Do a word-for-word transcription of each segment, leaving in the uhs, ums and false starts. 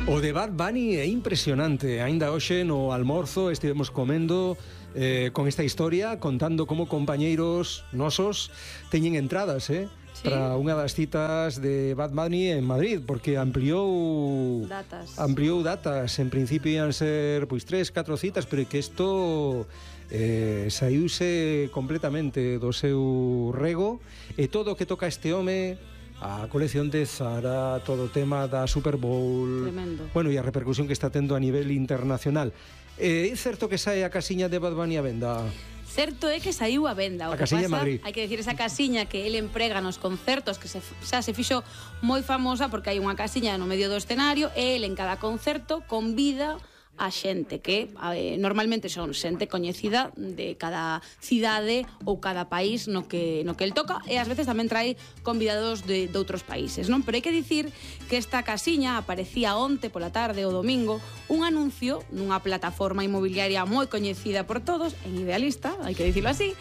O de Bad Bunny é impresionante. Ainda hoxe no almorzo estivemos comendo eh, con esta historia, contando como compañeiros nosos teñen entradas, eh? Sí. Para unha das citas de Bad Bunny en Madrid, porque ampliou datas. Ampliou datas. En principio ian ser pois tres, catro citas, pero que isto eh, saíuse completamente do seu rego, e todo o que toca este home, a colección de Zara, todo o tema da Super Bowl. Tremendo. Bueno, e a repercusión que está tendo a nivel internacional. É eh, certo que sae a casiña de Bad Bunny a venda? Certo é que saiu a venda. O a que casiña pasa, Madrid. hai que decir, esa casiña que ele emprega nos concertos, que se, xa se fixo moi famosa porque hai unha casiña no medio do escenario e ele en cada concerto convida a xente que eh, normalmente son xente coñecida de cada cidade ou cada país no que no que el toca, e ás veces tamén trae convidados de, de outros países, non? Pero hai que dicir que esta casiña aparecía onte pola tarde ou domingo un anuncio nunha plataforma inmobiliaria moi coñecida por todos, en Idealista, hai que dicirlo así.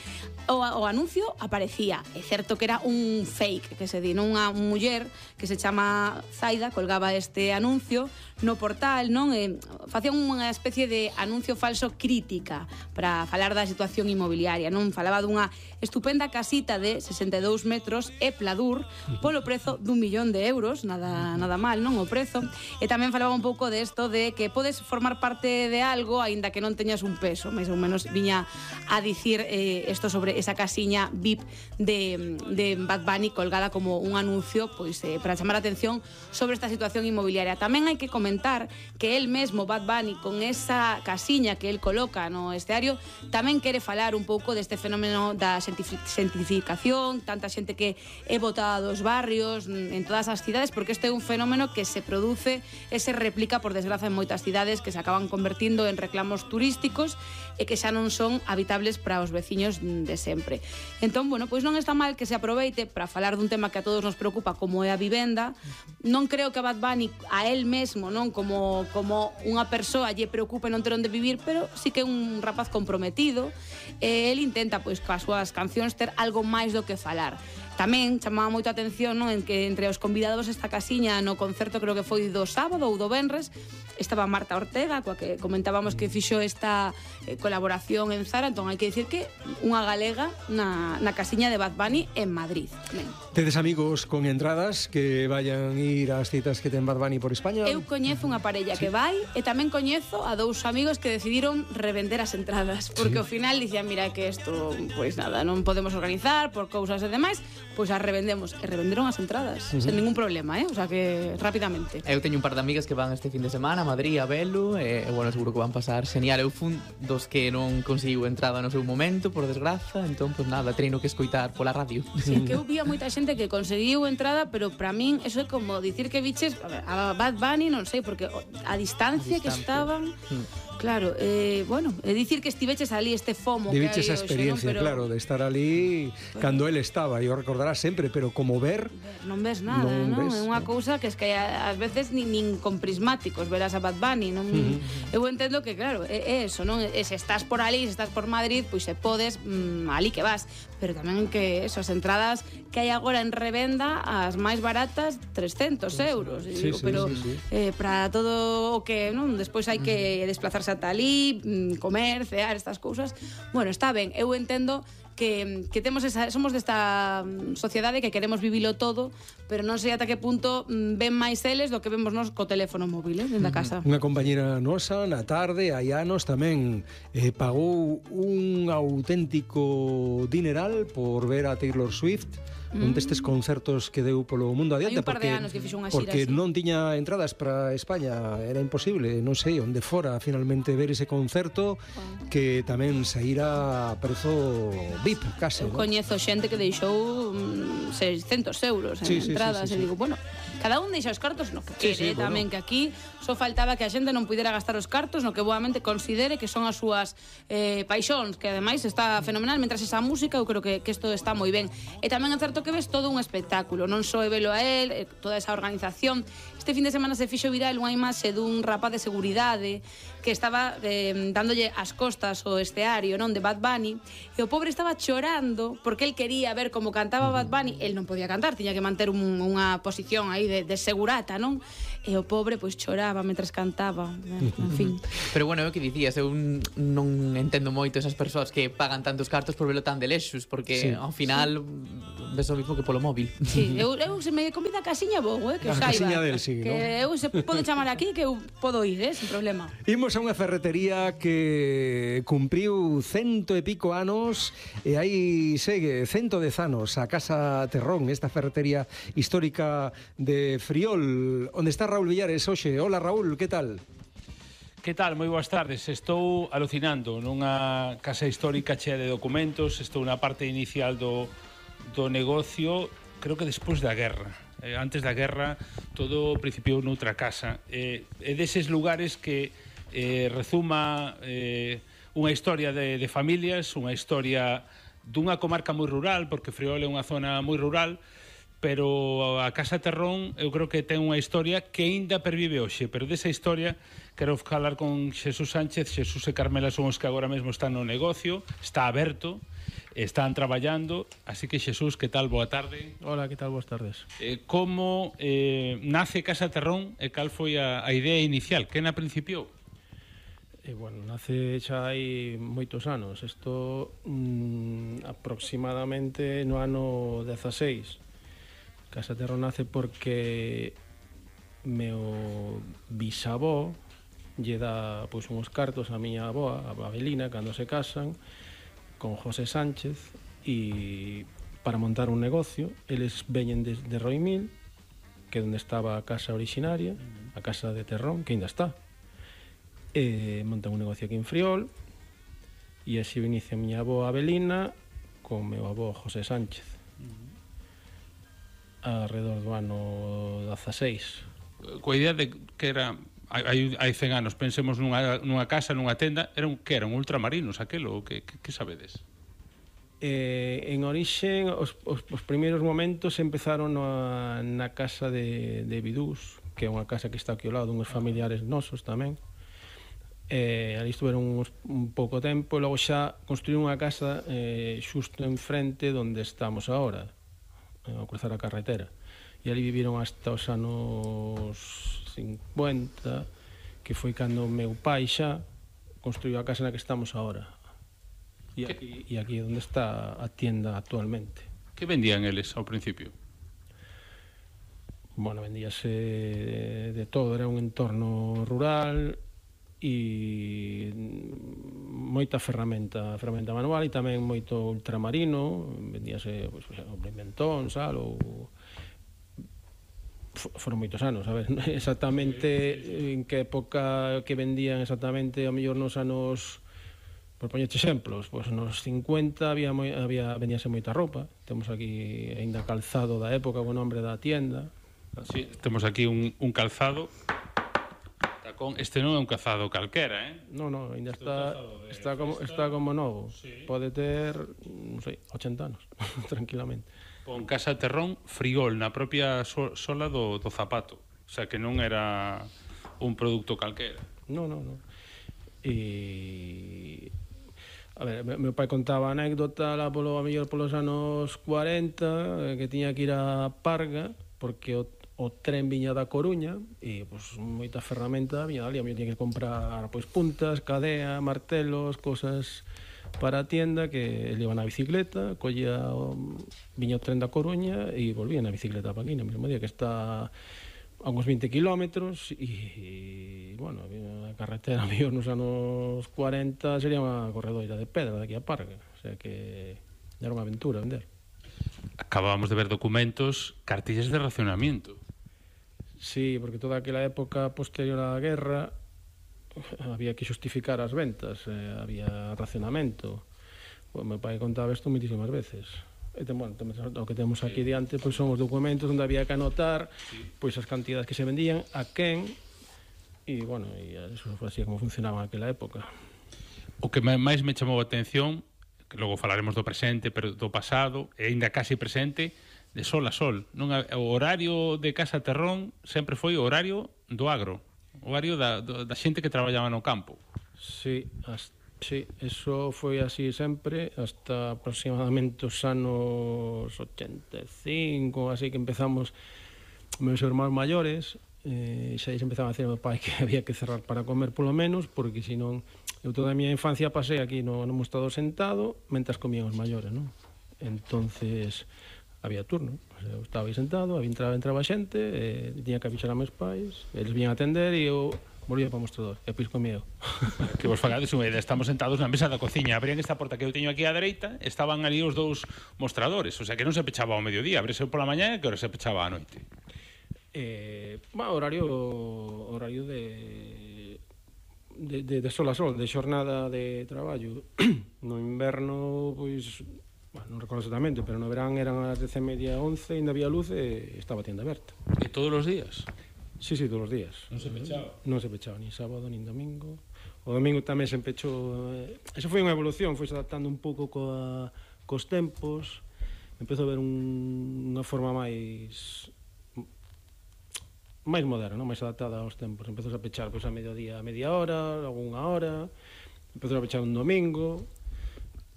O, o anuncio aparecía, é certo que era un fake, que se di, non unha muller que se chama Zaida colgaba este anuncio no portal, non? E facía unha especie de anuncio falso crítica para falar da situación inmobiliaria, non? Falaba dunha estupenda casita de sesenta e dous metros e Pladur polo prezo dun millón de euros, nada nada mal, non? O prezo. E tamén falaba un pouco de isto de que podes formar parte de algo aínda que non teñas un peso, máis ou menos viña a dicir isto eh, sobre esa casiña V I P de, de Bad Bunny colgada como un anuncio pois eh, para chamar a atención sobre esta situación inmobiliaria. Tamén hai que comentar que el mesmo, Bad Bunny, con esa casiña que el coloca no esteario, tamén quere falar un pouco deste fenómeno da xentificación, tanta xente que é botada dos barrios en todas as cidades, porque este é un fenómeno que se produce e se replica, por desgraza, en moitas cidades que se acaban convertindo en reclamos turísticos e que xa non son habitables para os veciños de sempre. Entón, bueno, pois non está mal que se aproveite para falar dun tema que a todos nos preocupa, como é a vivenda. Non creo que a Bad Bunny a él mesmo, non como como unha persoa lle preocupe non ter onde vivir, pero sí que é un rapaz comprometido. E el intenta, pois, coas súas cancións ter algo máis do que falar. Tamén chamaba moito a atención, non, en que entre os convidados esta casiña no concerto, creo que foi do sábado ou do venres, estaba Marta Ortega, coa que comentábamos que fixo esta eh, colaboración en Zara. Entón hai que dicir que unha galega na, na casiña de Bad Bunny en Madrid. Ben. Tedes amigos con entradas que vayan ir ás citas que ten Bad Bunny por España? Eu coñezo unha parella sí. que vai, e tamén coñezo a dous amigos que decidiron revender as entradas, porque sí. ao final dicían, mira, que isto, pois nada, non podemos organizar por cousas e demais, pois as revendemos, e revenderon as entradas uh -huh. sen ningún problema, eh? O sea que rapidamente. Eu teño un par de amigas que van este fin de semana a Madrid, a velo, e, e bueno, seguro que van pasar genial. Eu fun dos que non conseguiu entrada no seu momento, por desgraza, entón, pois nada, treino que escoitar pola radio. Sí, que eu vi a moita xente que conseguiu entrada, pero para min eso é como dicir que viches a Bad Bunny, non sei, porque a distancia, a distancia. que estaban... Hmm. Claro, eh, bueno, é dicir que estiveches ali este fomo de que hai esa experiencia, hoxe, non? Pero... claro, de estar ali pero... cando él estaba, e o recordarás sempre, pero como ver... ver non ves nada, non? non? Ves, é unha no. cousa que es que ás veces nin, nin con prismáticos verás a Bad Bunny, non? Uh -huh. Eu entendo que, claro, é, é eso, non? E se estás por ali, se estás por Madrid, pois se podes, mmm, ali que vas, pero tamén que eso, as entradas que hai agora en revenda, as máis baratas, trescentos euros, sí, digo, sí, pero sí, sí. Eh, para todo o que, non? Despois hai que desplazarse ata ali, comer, cear, estas cousas. Bueno, está ben, eu entendo que, que temos esa, somos desta sociedade que queremos vivilo todo, pero non sei ata que punto ven máis eles do que vemos nos co teléfono móvil, eh, dentro da casa. Unha compañera nosa na tarde, hai anos tamén eh, pagou un auténtico dineral por ver a Taylor Swift un destes concertos que deu polo mundo adiante, hai un par porque, de anos que fixo unha xira porque así. Non tiña entradas para España, era imposible, non sei onde fora finalmente ver ese concerto, wow. que tamén saíra a prezo V I P case. Eu ¿no? coñezo xente que deixou mm, seiscentos euros en sí, entradas, sí, sí, sí, e digo, sí. bueno, cada un deixa os cartos no que quere, sí, sí, tamén bueno. Que aquí só faltaba que a xente non pudera gastar os cartos no que boamente considere que son as súas eh, paixóns, que ademais está fenomenal, mentras esa música eu creo que, que isto está moi ben. E tamén é certo que ves todo un espectáculo, non só é velo a él, eh, toda esa organización. Este fin de semana se fixo viral unha imaxe dun rapaz de seguridade que estaba eh, dándolle as costas ao esteario, non, de Bad Bunny, e o pobre estaba chorando porque el quería ver como cantaba Bad Bunny. El non podía cantar, tiña que manter un, unha posición aí aí de, de segurata, non? E o pobre pois choraba mentres cantaba, en fin. Pero bueno, é o que dicías, eu non entendo moito esas persoas que pagan tantos cartos por velo tan de lexos, porque sí, ao final sí, ves o mismo que polo móvil. Sí, eu, eu se me convida a casiña vou, eh, que a saiba. Casiña del, sí, que ¿no? eu se podo chamar aquí que eu podo ir, eh, sin problema. Imos a unha ferretería que cumpriu cento e pico anos e aí segue cento dez anos a Casa Terrón, esta ferretería histórica de Friol, onde está Raúl Villares hoxe. Hola Raúl, que tal? Que tal? Moi boas tardes. Estou alucinando nunha casa histórica chea de documentos. Estou na parte inicial do, do negocio, creo que despois da guerra. Eh, antes da guerra todo principiou noutra casa. Eh, é deses lugares que eh, rezuma eh, unha historia de, de familias, unha historia dunha comarca moi rural, porque Friol é unha zona moi rural, pero a Casa Terrón eu creo que ten unha historia que aínda pervive hoxe, pero desa historia quero falar con Xesús Sánchez. Xesús e Carmela son os que agora mesmo están no negocio, está aberto, están traballando, así que Xesús, que tal? Boa tarde. Hola, que tal? Boas tardes. Eh, como eh, nace Casa Terrón e cal foi a, a idea inicial? Que na principiou? Eh, bueno, nace xa hai moitos anos, isto mm, aproximadamente no ano dezaseis. Casa Terrón nace porque meu bisavó lle dá pois, uns cartos a miña avoa, a Abelina, cando se casan con José Sánchez, e para montar un negocio. Eles veñen de, de Roimil, que é onde estaba a casa originaria, a Casa de Terrón, que ainda está, e montan un negocio aquí en Friol, e así inicia a miña avoa Abelina con meu avó José Sánchez alrededor do ano dezaseis. Coa idea de que era hai, hai cen anos, pensemos nunha, nunha casa, nunha tenda, era un, que eran ultramarinos aquelo, que, que, que sabedes? Eh, en orixen, os, os, os primeiros momentos empezaron na, na casa de, de Bidús, que é unha casa que está aquí ao lado, uns familiares nosos tamén. Eh, ali estuveron uns, un pouco tempo, e logo xa construíron unha casa eh, xusto enfrente donde estamos agora, ao cruzar a carretera, e ali viviron hasta os anos cincuenta, que foi cando meu pai xa construiu a casa na que estamos agora, e aquí, e aquí é onde está a tienda actualmente. Que vendían eles ao principio? Bueno, vendíase de, de todo, era un entorno rural e moita ferramenta, ferramenta manual, e tamén moito ultramarino. Vendíase, pois, pues, o pimentón, sal, ou foron moitos anos, a ver, exactamente en que época que vendían exactamente, ao mellor nos anos, por poñerte exemplos, pois nos cincuenta había, moi, había vendíase moita roupa. Temos aquí aínda calzado da época, o nombre da tienda. Sí, temos aquí un, un calzado. Este non é un calzado calquera, eh? No, no, ainda está, está, como, está como novo. Sí. Pode ter, non sei, ochenta anos, tranquilamente. Con Casa Terrón, Friol, na propia so, sola do, do zapato. O sea, que non era un produto calquera. No, no, no. E... A ver, meu pai contaba a anécdota lá polo, a mellor polos anos cuarenta, que tiña que ir a Parga, porque o o tren viña da Coruña e pois, moita ferramenta viña dali, a mí tiña que comprar pois, puntas, cadea, martelos, cosas para a tienda, que ele iba na bicicleta, collía o, viña o tren da Coruña e volvía na bicicleta para aquí, no mesmo día, que está a uns vinte kilómetros e, bueno, a carretera mío nos anos cuarenta sería unha corredoira de pedra daqui a Parga, o sea que era unha aventura vender. Acabábamos de ver documentos, cartillas de racionamiento. Sí, porque toda aquela época posterior á guerra había que xustificar as ventas, eh, había racionamento. O meu pai contaba isto moitísimas veces. E ten, bueno, o que temos aquí diante pois son os documentos onde había que anotar pois as cantidades que se vendían, a quen, e, bueno, e eso foi así como funcionaba aquela época. O que máis me chamou a atención, que logo falaremos do presente, pero do pasado, e ainda casi presente, de sol a sol. Non, o horario de Casa Terrón sempre foi o horario do agro, o horario da, da xente que traballaba no campo. Sí, as, sí, eso foi así sempre, hasta aproximadamente os anos ochenta e cinco, así que empezamos meus irmãos maiores, eh, xa eles empezaban a decir ao meu pai que había que cerrar para comer polo menos, porque senón eu toda a miña infancia pasei aquí no, no mostrador sentado mentras comían os maiores, non? Entonces había turno, o sea, eu estaba aí sentado, entraba, entraba xente, eh, tiña que avisar a meus pais, eles vinhan a atender e eu volvía para o mostrador, e pois comía eu. Que vos fagades unha idea, estamos sentados na mesa da cociña, abrían esta porta que eu teño aquí á dereita, estaban ali os dous mostradores, o sea que non se pechaba ao mediodía, abrese pola mañá e que hora se pechaba á noite. Eh, bueno, horario horario de de, de, de sol a sol, de xornada de traballo. No inverno, pois, bueno, non recordo exactamente, pero no verán eran as dez e media, once, ainda había luz e estaba a tienda aberta. E todos os días? Sí, sí, todos os días. Non se pechaba? Non se pechaba, nin sábado, nin domingo. O domingo tamén se pechou. Eh, eso foi unha evolución, foi adaptando un pouco coa, cos tempos. Empezou a ver un, unha forma máis máis moderna, non? Máis adaptada aos tempos. Empezou a pechar pois, a mediodía a media hora, logo unha hora. Empezou a pechar un domingo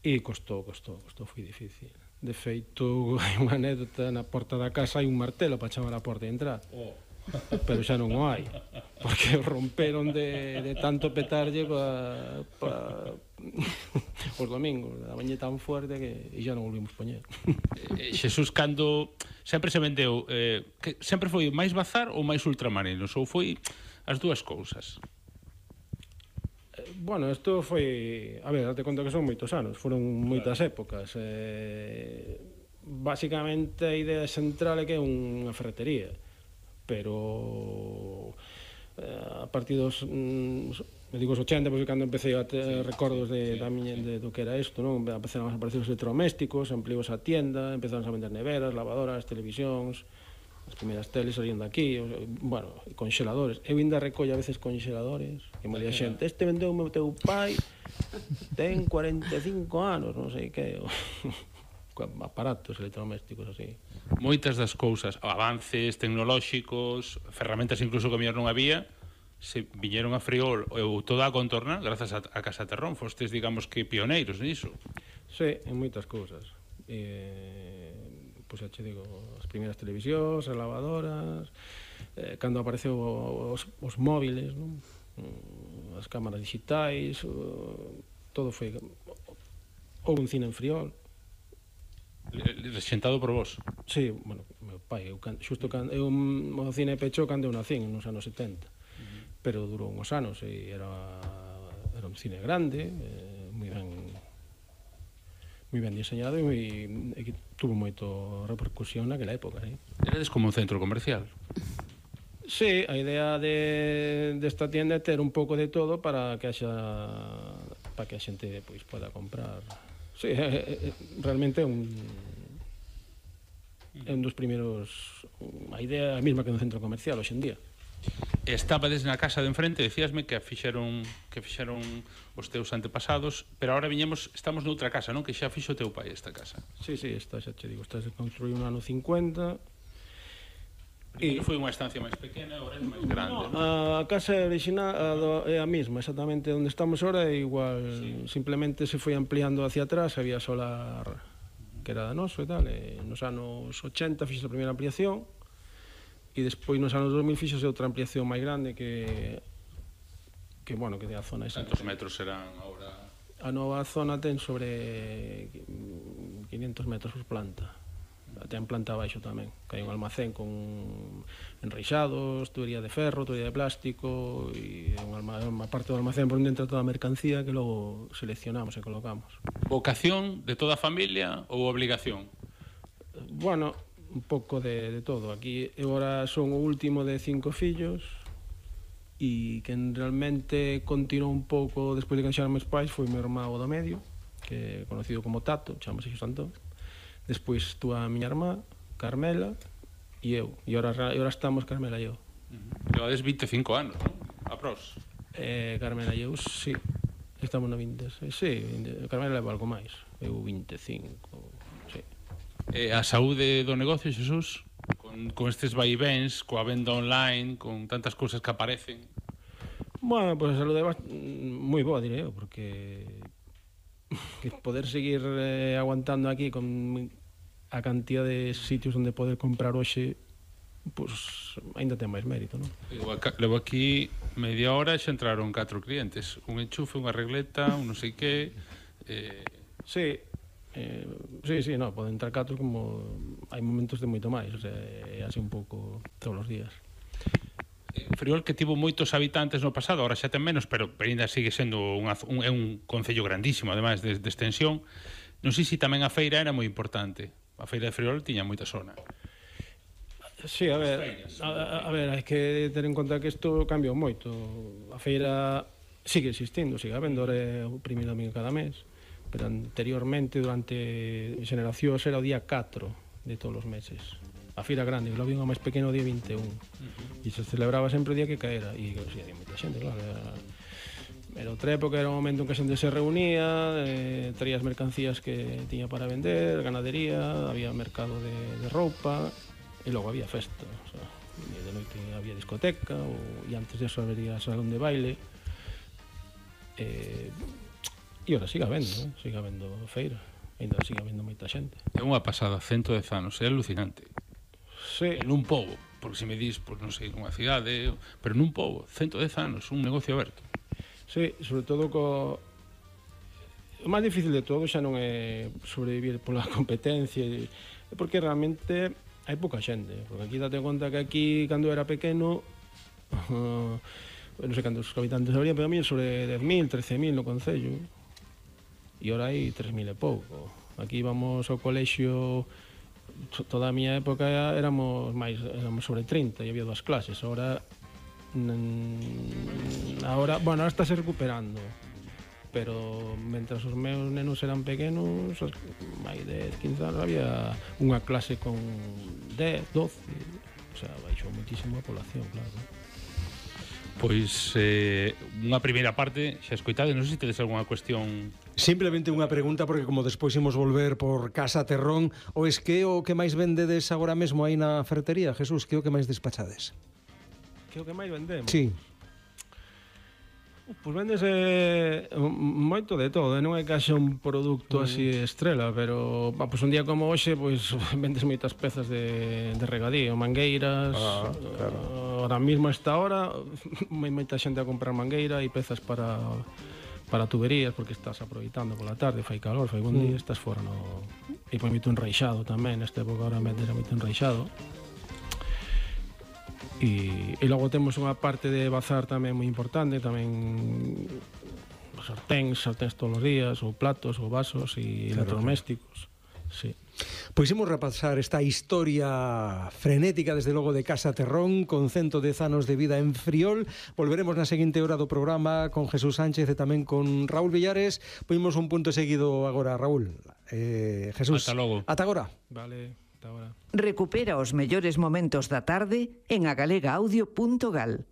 e costou, costou, costou, foi difícil. De feito, hai unha anécdota, na porta da casa hai un martelo para chamar a porta e entrar. Oh. Pero xa non o hai, porque romperon de, de tanto petarlle pa, pa, os domingos, a bañe tan fuerte que e xa non volvimos poñer. Eh, Xesús, cando sempre se vendeu, eh, que sempre foi máis bazar ou máis ultramarinos, ou foi as dúas cousas? Eh, bueno, isto foi, a ver, date conta que son moitos anos, foron moitas claro. épocas. Eh, basicamente a idea central é que é unha ferretería, pero eh, a partir dos mm, me digo os ochenta, porque cando empecé a ter recordos de, da miña, de, do que era isto, non? Empezaron a aparecer os electrodomésticos, ampliou a tienda, empezaron a vender neveras, lavadoras, televisións, as primeiras teles salían daqui, bueno, congeladores. Eu ainda recollo a veces congeladores, que me di a xente, este vendeu o meu teu pai, ten cuarenta e cinco anos, non sei que, aparatos electrodomésticos así. Moitas das cousas, avances tecnolóxicos, ferramentas incluso que mellor non había, se viñeron a Friol ou toda a contorna grazas a, a Casa Terrón, fostes, digamos que pioneiros niso. Sí, en moitas cousas. Eh, pois xa che digo, as primeiras televisións, as lavadoras, eh, cando apareceu os, os móviles, non? As cámaras digitais, o, todo foi... Houve un cine en Friol. Rexentado por vos? Sí, bueno, meu pai, eu, xusto cando, eu o cine pechou cando eu nacín, nos anos setenta, uh-huh. Pero durou uns anos e era, era un cine grande, eh, moi ben moi ben diseñado e, moi, e que tuvo moito repercusión naquela época, sí. Erades como un centro comercial? Sí, a idea de desta de tienda é ter un pouco de todo para que haxa para que a xente pois poda comprar. Sí, é, é, realmente é un é un dos primeiros, a idea é a mesma que un centro comercial hoxe en día. Estabades na casa de enfrente, decíasme que fixeron que fixeron os teus antepasados, pero agora viñemos, estamos noutra casa, non? Que xa fixo o teu pai esta casa. Sí, sí, esta xa che digo, esta se construiu no ano cincuenta. E foi unha estancia máis pequena, agora é máis grande. No, a casa original é a mesma, exactamente onde estamos ahora é igual, sí. Simplemente se foi ampliando hacia atrás, había solar que era da noso e tal, e nos anos ochenta fixo a primeira ampliación e despois nos anos dos mil fixose outra ampliación máis grande que que bueno, que é a zona esa. Cantos metros serán agora? A nova zona ten sobre quinientos metros por planta. Ten planta abaixo tamén, que hai un almacén con enreixados, tubería de ferro, tubería de plástico e unha parte do almacén por onde entra toda a mercancía que logo seleccionamos e colocamos. Vocación de toda a familia ou obligación? Bueno, un pouco de, de todo. Aquí eu agora son o último de cinco fillos e quen realmente continuou un pouco despois de que deixaron meus pais foi o meu irmão do medio, que é conocido como Tato, chamase Xos Antón. Despois estuvo a miña irmá, Carmela, e eu. E ahora, ahora estamos Carmela e eu. Uh-huh. Levades vinte e cinco anos, non? Apros. Eh, Carmela e eu, sí. Estamos na vinte e seis. Sí, Carmela leva algo máis. Eu vinte e cinco, sí. Eh, a saúde do negocio, Xesús? Con, con estes vaivens, coa venda online, con tantas cousas que aparecen? Bueno, pois pues a saúde é moi boa, direi eu, porque... que poder seguir eh, aguantando aquí con a cantidad de sitios onde poder comprar hoxe pois ainda ten máis mérito, non? Levo aquí media hora e xa entraron catro clientes, un enchufe, unha regleta, un non sei que. eh... Sí, eh, sí, sí, no, poden entrar catro, como hai momentos de moito máis, o sea, é así un pouco todos os días. Friol, que tivo moitos habitantes no pasado, ahora xa ten menos, pero ainda sigue sendo unha, un, é un concello grandísimo, ademais de, de extensión. Non sei se tamén a feira era moi importante. A feira de Friol tiña moita zona. Sí, a ver, a, a ver, hai que ter en conta que isto cambiou moito. A feira sigue existindo, sigue habendo, é o primeiro domingo cada mes, pero anteriormente, durante xeneracións, era o día catro de todos os meses. A feira grande, logo vinha máis pequeno o día vinte e un. Uh-huh. E se celebraba sempre o día que caera. E sí, había moita xente, claro. Era, era outra época, era un momento en que a xente se reunía, eh, traía as mercancías que tiña para vender, ganadería, había mercado de, de roupa, e logo había festa. O sea, de noite había discoteca, ou, e antes de eso había salón de baile. Eh, e ora siga habendo, eh? siga habendo feira. Ainda siga habendo moita xente. É unha pasada, cento dez anos, é alucinante. Sí. En un pobo, porque se me dis, pues, non sei, nunha cidade, pero nun pobo, cento dez anos, un negocio aberto. Sí, sobre todo co... O máis difícil de todo xa non é sobrevivir pola competencia, é porque realmente hai pouca xente, porque aquí date conta que aquí, cando era pequeno, uh, non sei cantos habitantes habría, pero a mí sobre dez mil, trece mil no concello, e ora hai tres mil e pouco. Aquí íbamos ao colexio, toda a miña época éramos máis, éramos sobre trinta e había dúas clases. Ahora ahora, bueno, ahora estáse recuperando, pero mentras os meus nenos eran pequenos, máis de quince anos, había unha clase con dez, doce, o sea, baixou muitísimo a población, claro. Pois eh, unha primeira parte xa escoitade, non sei se tedes algunha cuestión. Simplemente unha pregunta, porque como despois imos volver por Casa Terrón, o es que o que máis vendedes agora mesmo aí na ferretería, Jesús, que o que máis despachades? Que o que máis vendemos? Sí. Pois vendese moito de todo, non é que haxa un produto mm. así estrela, pero pa, pois un día como hoxe, pois vendes moitas pezas de, de regadío, mangueiras. Ah, claro. Ahora mesmo a esta hora moita xente a comprar mangueira e pezas para para tuberías, porque estás aproveitando pola tarde, fai calor, fai bon día, mm. estás fora no... E pois moito enraixado tamén, nesta época ahora metes moito enraixado. E, e logo temos unha parte de bazar tamén moi importante, tamén sarténs, sarténs todos os días, ou platos, ou vasos, e claro, electrodomésticos. Sí. Pois imos repasar esta historia frenética, desde logo, de Casa Terrón, con cento dez anos de vida en Friol. Volveremos na seguinte hora do programa con Jesús Sánchez e tamén con Raúl Villares. Poimos un punto seguido agora, Raúl. Eh, Jesús, ata logo. Ata agora. Vale. Ahora. Recupera os mellores momentos da tarde en agalega-audio punto gal.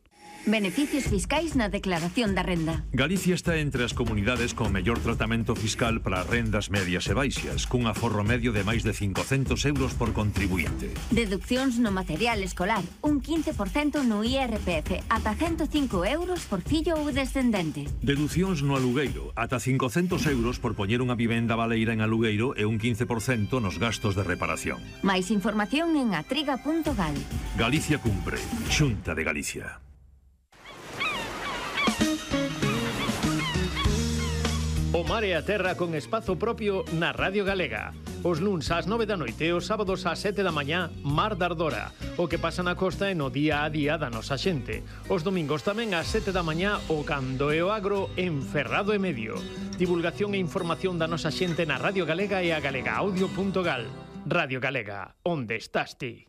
Beneficios fiscais na declaración da renda. Galicia está entre as comunidades con mellor tratamento fiscal para rendas medias e baixas, cun aforro medio de máis de cincocentos euros por contribuinte. Deduccións no material escolar, un quince por cento no I R P F, ata ciento cinco euros por fillo ou descendente. Deducións no alugueiro, ata cincocentos euros por poñer unha vivenda baleira en alugueiro e un quince por cento nos gastos de reparación. Máis información en atriga punto gal. Galicia cumpre. Xunta de Galicia. O mar e a terra con espazo propio na Radio Galega. Os luns ás nove da noite e os sábados ás sete da mañá, Mar da Ardora. O que pasa na costa e no día a día da nosa xente. Os domingos tamén ás sete da mañá, o Cando e o Agro en Ferrado e Medio. Divulgación e información da nosa xente na Radio Galega e a galega audio punto gal. Radio Galega, onde estás ti?